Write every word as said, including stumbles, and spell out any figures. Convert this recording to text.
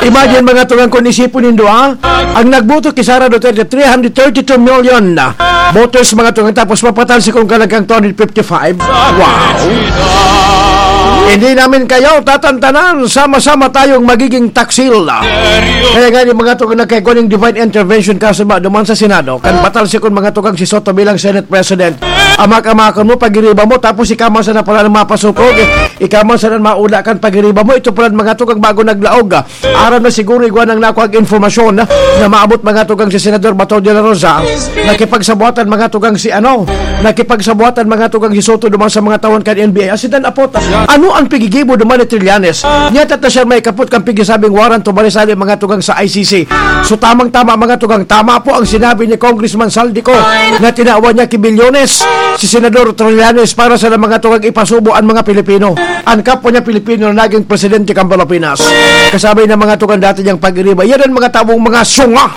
Imagine, mga tugang, kung isipon nindo, ha? Ang nagboto kay Sara Duterte, three hundred thirty-two million na voters, mga tugang, tapos mapatalsi kung kalagkang two hundred fifty-five. Wow! Hindi namin kayo tatantanan. Sama-sama tayong magiging taksil. Kaya nga, yung mga tugang, nagkaigo ng divine intervention, kaso ba, duman sa Senado, kan patalsi kung, mga tugang, si Soto bilang Senate President. Amak-amakan mo, pagiriba mo, tapos ikaw man sana pala ang mapasukog, eh. Ikaw man sana ang maula kan pagiriba mo. Ito pala, mga tugang, bago naglaog, ah. Aram na siguro igwa nang nakuha ang informasyon na, na maabot, mga tugang, si Senador Bato de la Rosa. Nakipagsabuatan, mga tugang, si ano, nakipagsabuatan, mga tugang, si Soto duman sa mga tawon kan N B I. As in, apot, ano ang pigigibo duman ni Trillanes? Niya tata siya may kapot kang pigisabing warrant to barisali, mga tugang, sa I C C. So, tamang-tama, mga tugang, tama po ang sinabi ni Congressman Saldico na tinawan niya ki Bilyones si Senador Trillanes para sa mga tugang ipasubo ang mga Pilipino. Ang kapwa niya Pilipino na naging presidente kan Pilipinas. Kasabay ng mga tugang dati niyang pag-iriba. Yan ang mga taong mga sunga.